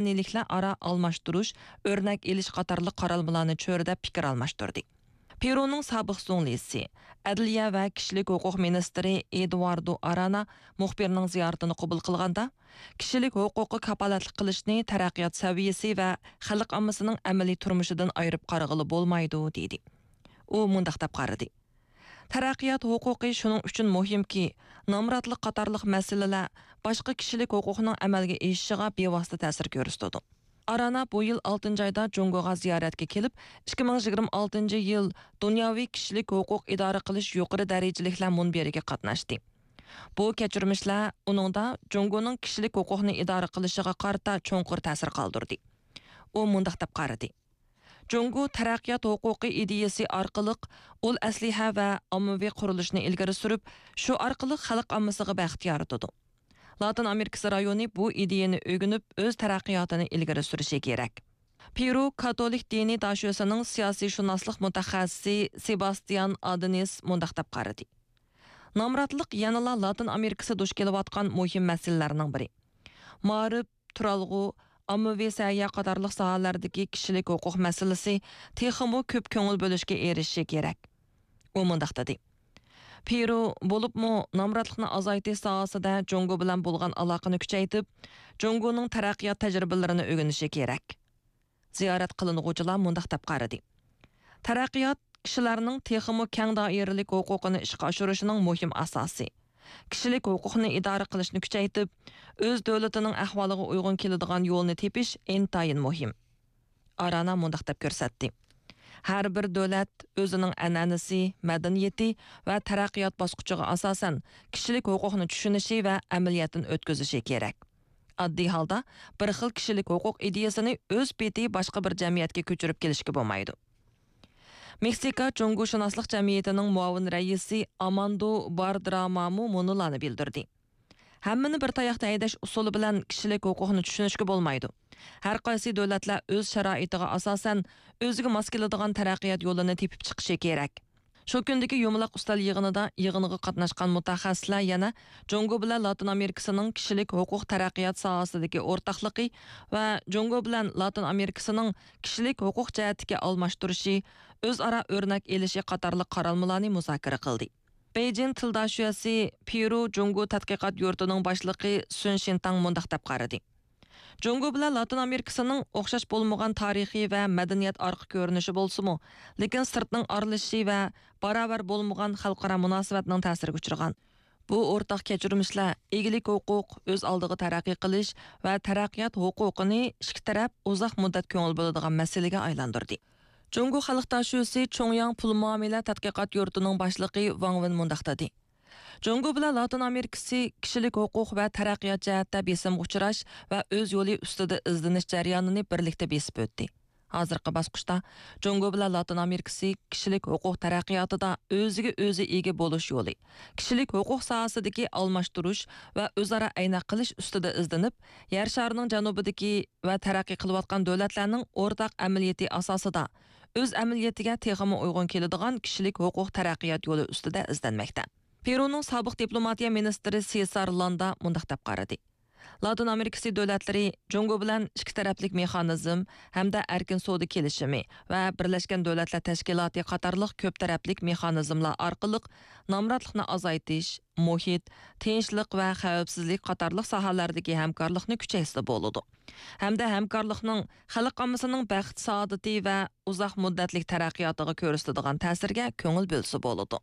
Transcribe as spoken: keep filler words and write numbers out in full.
مەدەنىيلىكلەر ئارا ئالماشتۇرۇش، ئۆرنەك ئېلىش قاتارلىق قارالمىلارنى چۆرىدەپ پىكىر ئالماشتۇردى. پېرۇنىڭ سابىق زۇڭلىسى، ئەدلىيە ۋە كىشىلىك ھوقۇق مىنىستىرى ئېدۇئاردو ئارانا مۇخبىرنىڭ زىيارىتىنى قوبۇل قىلغاندا، كىشىلىك ھوقۇققا كاپالەتلىك قىلىشنى تەرەققىيات سەۋىيەسى ۋە خەلق ئاممىسىنىڭ ئەمەلىي تۇرمۇشىدىن ئايرىپ قارىغىلى بولمايدۇ، دېدى. ئۇ مۇنداق دەپ قارىدى: تەرەققىيات ھوقۇقى شۇنىڭ ئۈچۈن مۇھىمكى، نامراتلىق قاتارلىق مەسىلىلەر باشقا كىشىلىك ھوقۇقنىڭ ئەمەلگە ئېشىشىغا بىۋاسىتە تەسىر كۆرسىتىدۇ. ئارانا بۇ يىل ئالتىنچى ئايدا جۇڭگوغا زىيارەتكە كېلىپ، ئىككى مىڭ يىگىرمە ئالتىنچى يىل دۇنياۋى كىشىلىك ھوقۇق ئىدارە قىلىش يۇقىرى دەرىجىلىكلەر مۇنبىرىگە قاتناشتى. بۇ كەچۈرمىشلەر ئۇنىڭدا جۇڭگونىڭ كىشىلىك ھوقۇقنى ئىدارە قىلىشىغا قارىتا چوڭقۇر تەسىر قالدۇردى. ئۇ مۇنداق دەپ قارىدى: جۇڭگو تەرەققىيات ھوقۇقى ئىدىيىسى ئارقىلىق ئۇل ئەسلىھە ۋە ئاممىۋى قۇرۇلۇشنى ئىلگىرى سۈرۈپ، شۇ ئارقىلىق خەلق ئاممىسىغا بەخت يارىتىدۇ. لاتىن ئامېرىكىسى رايونى بۇ ئىدىيەنى ئۆگىنىپ، ئۆز تەرەققىياتىنى ئىلگىرى سۈرۈشى كېرەك. پېرۇ كاتولىك دىنىي داشۆسىنىڭ سىياسىيشۇناسلىق مۇتەخەسسىسى سېباستىيان ئادېنىس مۇنداق دەپ قارىدى: نامراتلىق يەنىلا لاتىن ئامېرىكىسى دۇچ كېلىۋاتقان مۇھىم مەسىلىلەرنىڭ بىرى. مائارىپ، تۇرالغۇ، ئاممىۋى سەھىيە قاتارلىق ساھەلەردىكى كىشىلىك ھوقۇق مەسىلىسى تېخىمۇ كۆپ كۆڭۈل بۆلۈشكە ئېرىشىشى كېرەك. ئۇ مۇنداق دېدى: پېرۇ، بولۇپمۇ نامراتلىقنى ئازايتىش ساھەسىدە جۇڭگو بىلەن بولغان ئالاقىنى كۈچەيتىپ، جۇڭگونىڭ تەرەققىيات تەجرىبىلىرىنى ئۆگىنىشى كېرەك. زىيارەت قىلىنغۇچىلار مۇنداق دەپ قارىدى: تەرەققىيات كىشىلەرنىڭ تېخىمۇ كەڭ دائىرىلىك ھوقۇقىنى ئىشقا ئاشۇرۇشىنىڭ مۇھىم ئاساسى. كىشىلىك ھوقۇقنى ئىدارە قىلىشنى كۈچەيتىپ، ئۆز دۆلىتىنىڭ ئەھۋالىغا ئۇيغۇن كېلىدىغان يولنى تېپىش ئىنتايىن مۇھىم. ئارانا مۇنداق دەپ كۆرسەتتى: ھەر بىر دۆلەت ئۆزىنىڭ ئەنئەنىسى، مەدەنىيىتى ۋە تەرەققىيات باسقۇچىغا ئاساسەن كىشىلىك ھوقۇقنى چۈشىنىشى ۋە ئەمەلىيەتتىن ئۆتكۈزۈشى كېرەك. ئاددىي ھالدا بىر خىل كىشىلىك ھوقۇق ئىدىيىسىنى ئۆز پېتى باشقا بىر جەمئىيەتكە كۆچۈرۈپ كېلىشكە بولمايدۇ. مېكسىكا جۇڭگوشۇناسلىق جەمئىيىتىنىڭ مۇئاۋىن رەئىسى ئاماندو باردرامامۇ مۇنۇلارنى بىلدۈردى: ھەممىنى بىر تاياقتا ھەيدەش ئۇسۇلى بىلەن كىشىلىك ھوقۇقنى چۈشىنىشكە بولمايدۇ. ھەر قايسى دۆلەتلەر ئۆز شارائىتىغا ئاساسەن ئۆزىگە ماس كېلىدىغان تەرەققىيات يولىنى تېپىپ چىقىشى كېرەك. شۇ كۈندىكى يۇمىلاق ئۈستەل يىغىنىدا يىغىنغا قاتناشقان مۇتەخەسسىسلەر يەنە جۇڭگو بىلەن لاتىن ئامېرىكىسىنىڭ كىشىلىك ھوقۇق تەرەققىيات ساھەسىدىكى ئورتاقلىقى ۋە جۇڭگو بىلەن لاتىن ئامېرىكىسىنىڭ كىشىلىك ھوقۇق جەھەتتىكى ئالماشتۇرۇشى، ئۆزئارا ئۆرنەك ئېلىشى قاتارلىق قارالمىلارنى مۇزاكىرە قىلدى. بېيجىڭ تىلداشۆسى پېرۇ جۇڭگو تەتقىقات يۇرتىنىڭ باشلىقى سۈن شىنتاڭ مۇنداق دەپ قارىدى: جۇڭگو بىلەن لاتىن ئامېرىكىسىنىڭ ئوخشاش بولمىغان تارىخىي ۋە مەدەنىيەت ئارقا كۆرۈنۈشى بولسىمۇ، لېكىن سىرتنىڭ ئارىلىشىشى ۋە باراۋەر بولمىغان خەلقئارا مۇناسىۋەتنىڭ تەسىرىگە ئۇچرىغان. بۇ ئورتاق كەچۈرمىشلەر ئىگىلىك ھوقۇق، ئۆز ئالدىغا تەرەققىي قىلىش ۋە تەرەققىيات ھوقۇقىنى ئىككى تەرەپ ئۇزاق مۇددەت كۆڭۈل بۆلىدىغان مەسىلىگە ئايلاندۇردى. جۇڭگو خەلق داشۆسى چۇڭياڭ پۇل مۇئامىلە تەتقىقات يۇرتىنىڭ باشلىقى ۋاڭ ۋېن مۇنداق دېدى: جۇڭگو بىلەن لاتىن ئامېرىكىسى كىشىلىك ھوقۇق ۋە تەرەققىيات جەھەتتە بېسىمغا ئۇچراش ۋە ئۆز يولى ئۈستىدە ئىزدىنىش جەريانىنى بىرلىكتە بېسىپ ئۆتتى. ھازىرقى باسقۇچتا جۇڭگو بىلەن لاتىن ئامېرىكىسى كىشىلىك ھوقۇق تەرەققىياتىدا ئۆزىگە ئۆزى ئىگە بولۇش يولى، كىشىلىك ھوقۇق ساھەسىدىكى ئالماشتۇرۇش ۋە ئۆزئارا ئەينەك قىلىش ئۈستىدە ئىزدىنىپ، يەر شارىنىڭ جەنۇبىدىكى ۋە تەرەققىي قىلىۋاتقان دۆلەتلەرنىڭ ئورتاق ئەمەلىيىتى ئاساسىدا ئۆز ئەمەلىيىتىگە تېخىمۇ ئۇيغۇن كېلىدىغان كىشىلىك ھوقۇق تەرەققىيات يولى ئۈستىدە ئىزدەنمەكتە. پېرۇنىڭ سابىق دىپلوماتىيە مىنىستىرى سېسار لاندا مۇنداق دەپ قارىدى: لاتىن ئامېرىكىسى دۆلەتلىرى جۇڭگو بىلەن ئىككى تەرەپلىك مېخانىزم ھەمدە ئەركىن سودا كېلىشىمى ۋە بىرلەشكەن دۆلەتلەر تەشكىلاتى قاتارلىق كۆپ تەرەپلىك مېخانىزملار ئارقىلىق نامراتلىقنى ئازايتىش، مۇھىت، تىنچلىق ۋە خەۋپسىزلىك قاتارلىق ساھەلەردىكى ھەمكارلىقنى كۈچەيتسە بولىدۇ. ھەمدە ھەمكارلىقنىڭ خەلق ئاممىسىنىڭ بەخت-سائادىتى ۋە ئۇزاق مۇددەتلىك تەرەققىياتىغا كۆرسىتىدىغان تەسىرىگە كۆڭۈل بۆلسە بولىدۇ.